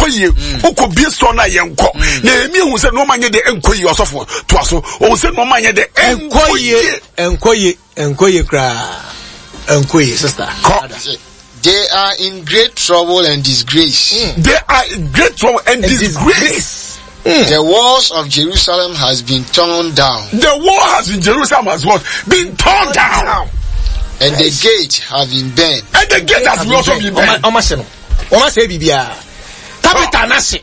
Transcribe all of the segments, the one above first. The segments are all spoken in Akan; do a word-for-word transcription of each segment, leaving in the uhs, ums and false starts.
Ɛnkɔ yie. Wokɔ bie store no a, yɛnkɔ. Nehemia hu sɛ nneɛma nyɛ de ɛnkɔ yie. Ɔsɔfo, toa so. Ɔhu sɛ nneɛma nyɛ de ɛnkɔ yie, ɛnkɔ yie, ɛnkɔ yie koraa, ɛnkɔ yie, sister. Kɔ. They are in great trouble and disgrace. Mm. They are in great trouble and, and disgrace. Disgrace. Mm. The walls of Jerusalem has been torn down. The wall has been Jerusalem has what? Been torn down. Down. And the gate have been burned. And the gate has also been burned. Ɔma se no. Ɔma se biribiara. Capital na se.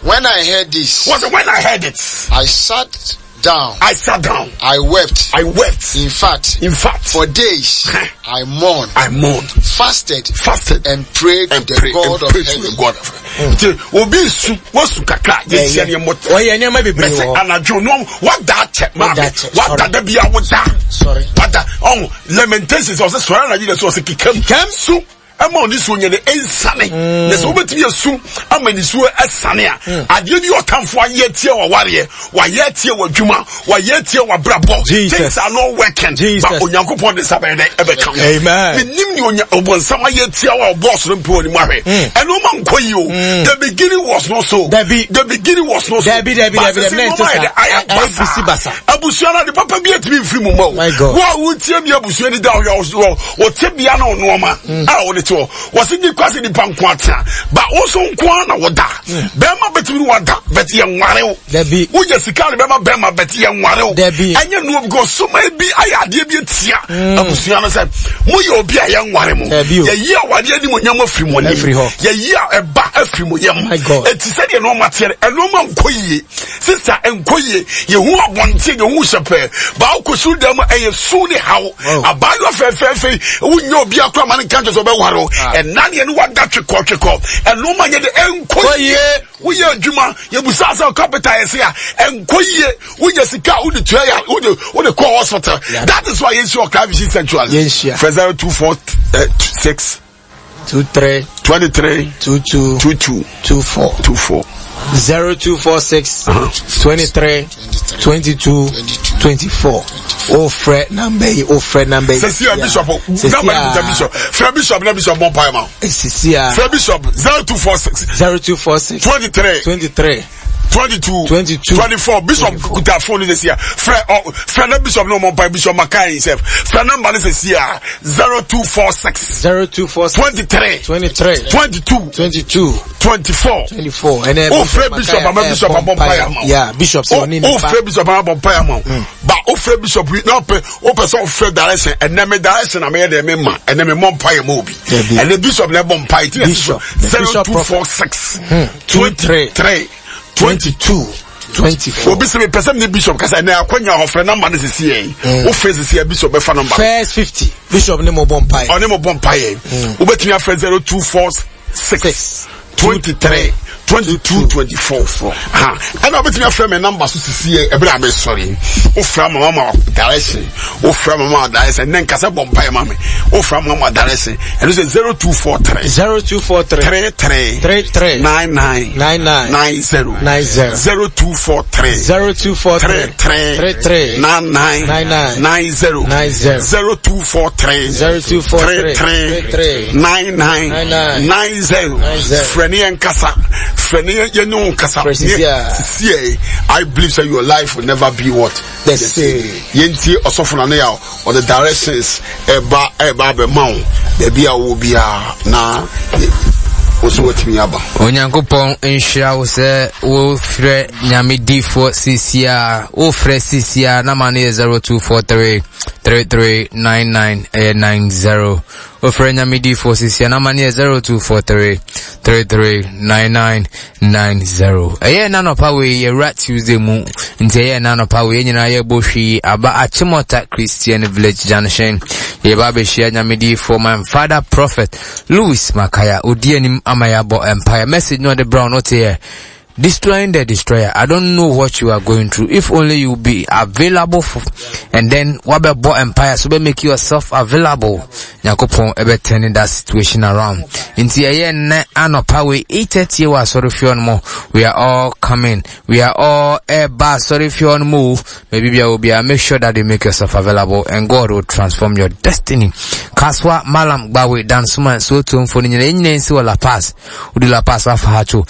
When I heard this, Was when I heard it, I sat down. I sat down. I wept. I wept. In fact, In fact, for days I mourned, I mourned, fasted, fasted, and prayed to and the pray God and of pray to heaven. the God of heaven. Nti obi su wasu kakra, yɛhyia ne mmɔ. Ɔyɛ nneɛma bebree Bɛsɛ wɔ hɔ. anadwo no wada akyɛ maame. Wada akyɛ, wada sorry. da bia woda. Sorry. Wada ɔn Lamentations, ɔsɛ sɔrɔ anadwo de sɛ ɔsɛ kekam Kekam. su ɛma ɔne suo nyɛ de ɛnsane, na sɛ wobɛtumi asu ama ne suo ɛsane a, adeɛ bi ɔtamfo ayɛ tie wawareɛ, wayɛ tie w'adwuma, wayɛ tie w'abrabɔ, Jesus. things are not working, Jesus. but Onyankopɔn de nsa bɛyɛ dɛ ɛbɛka ho. Amen. Menim ne onya ɔbɔnsam ayɛ tia wa ɔbɔɔ soro mpe wɔ ne mu ahwɛ ɛno ma nkɔ yi o. The beginning was not so. Dabi. The beginning was not so. Dabi, dabi, But dabi, sɛ dabi, na nneɛma ɛnte ayɛ dɛ, saa. ayɛ Ayɛ bisi basa. Abusua no ade papa bi atumi mfiri mu ma o. My God. Wo a wotie mi, abusua ni da ɔyɛ wɔte bia na ɔnoɔma a wɔde te hɔ, wɔsi ni kwasi nipa nko atena ba wo so nko ara na wɔda. Bɛrima bɛtumi ni wada bɛti yɛ nware o. Dabi. Woyɛ sika ne bɛrima bɛrima bɛti yɛ nware o. Dabi. Ɛnyɛ nuo because soma bi ayɛ adeɛ bi etia abusua no sɛ moyɛ obi a yɛ nware mo. Dabi o. Yɛyi awadeɛ anim onyam afiri mo anim. Afiri hɔ. Yɛyi a ɛba afiri mo yam. My God. Eti sɛdeɛ nneɛma teɛ no, ɛnneɛma nkɔ yie, sister, nkɔ yie. Yɛhu abɔnten, yɛhu hyɛpɛɛ baako su dɛm, ɛyɛ su ne haw. Oh. Abaayewa fɛfɛɛfɛ yi, wonyɛ obi akora ma ne nka nkyɛn sɛ ɔbɛware o. Ɛna deɛ ne wada twekɔ twekɔ, ɛnneɛma nyɛ de ɛnkɔ Kɔ yie. yie. Woyɛ adwuma, yɛbusa sɛ capital yɛ se a ɛnkɔ yie. Wonya sika a wode tua yɛ, wode wode kɔ hospital. Yeah. That is why yɛnhyia Ɔkra Vision Sanctuary. Yɛnhyia. Frɛ zero two four six Two three twenty three two two two two two four two four. zero two four six twenty three twenty two twenty four. O frɛ number yi, o frɛ number yi. Sɛsi a bishop number yi kuta bishop. Frɛ bishop na bishop bɔ mpae ma wo. Sisi a. Frɛ bishop zero two four six zero two four six twenty three twenty three twenty two twenty two twenty four. Bishop kuta phone ni sɛsi a. Frɛ ɔ frɛ na bishop na ɔmɔ mpae. Bishop Makai himself. Frɛ number ni sɛsi a, zero two four six zero two four six twenty three twenty three twenty two twenty two twenty four. twenty four. Ɛnɛ O frɛ bishop ama bishop abɔ mpae ama wo. Yeah, bishop sɛ ɔne o nipa. Frɛ bishop ama bɔ mpae ama wo ba. O frɛ bishop yi na ɔpɛ o pɛ sɛ ɔfrɛ direction. Ɛnɛ mi direction na mi yɛ dɛ mi ma ɛnɛ mi mɔ mpae ma obi. Dabi. Ɛnɛ bishop na ɛbɔ mpae ti. Bishop. The zero bishop two four six two three three twenty two twenty four. Obi sɛ mi pɛ sɛ mi ni bishop kasa, ɛnɛ akɔnya ɔfrɛ number ne sisi yɛ yi. O frɛ sisi yɛ, bishop bɛfa number. First fifty, bishop ne mo bɔ mpae. Ɔne mo bɔ mpae yɛ. Wobɛtumi afrɛ zero two four six Six twenty three twenty two twenty four ha. Ɛna wobɛtumi afrɛ me number so sisi yɛ ɛbɛrɛ a mɛsɔre. Wofrɛ ama mama direction, wofrɛ ama mama direction. Ne nkasa bɔ mpae ma me. Wofrɛ ama mama direction, ɛno sɛ zero two four three zero two four three three three three three nine nine nine nine nine zero nine zero zero two four three zero two four three three three three three nine nine nine nine nine zero nine zero zero two four three zero two four three three three three three nine nine nine nine nine zero nine zero. Frɛ ne yɛn kasa, frɛ ne yɛn yɛn ne wo kasa. Frɛ sisi a. Sisi yɛ, I believe say your life will never be what? The same. Yɛntie ɔsɔfo na ne yɛ ɔde directions ɛba ɛba abɛma wo baabi a wɔ biara na wo nso watumi aba. Onyankopɔn nhyira wo sɛ wofrɛ Nyame difoɔ sisi a. Wofrɛ sisi a, nama no yɛ zero two four three three three nine nine ɛyɛ nine zero. Wofrɛ Nyame difoɔ sisi a, nama no yɛ zero two four three three three nine nine nine zero. Ɛyɛ nanɔpa wei, yɛwura Tuesday mu nti ɛyɛ nanɔpa wei, yɛn nyinaa yɛbɔ hwii aba Achimota Christian Village Junction. Yɛba abɛhyia Nyame difoɔ, my father, Prophet Louis Makaya. Odi anim ama yɛabɔ empire message no ɔde brown no teɛ "Destroying the Destroyer". I don't know what you are going through. If only you be available for, and then wabɛbɔ empire so bɛ make yourself available. Nyankopɔn ɛbɛ turning that situation around. Nti ɛyɛ nnɛ anɔpa wei eight thirty wɔ asɔre fie hɔ no mu. We are all coming. We are all ɛba asɔre fie hɔ no mu. Maybe bia obi make sure that you make yourself available and God will transform your destiny. Kaswa, Malam, Gbawe, Dansoman, so to mfo no nyina nyina nsi wɔ La Paz. Wodi La Paz afa ha to.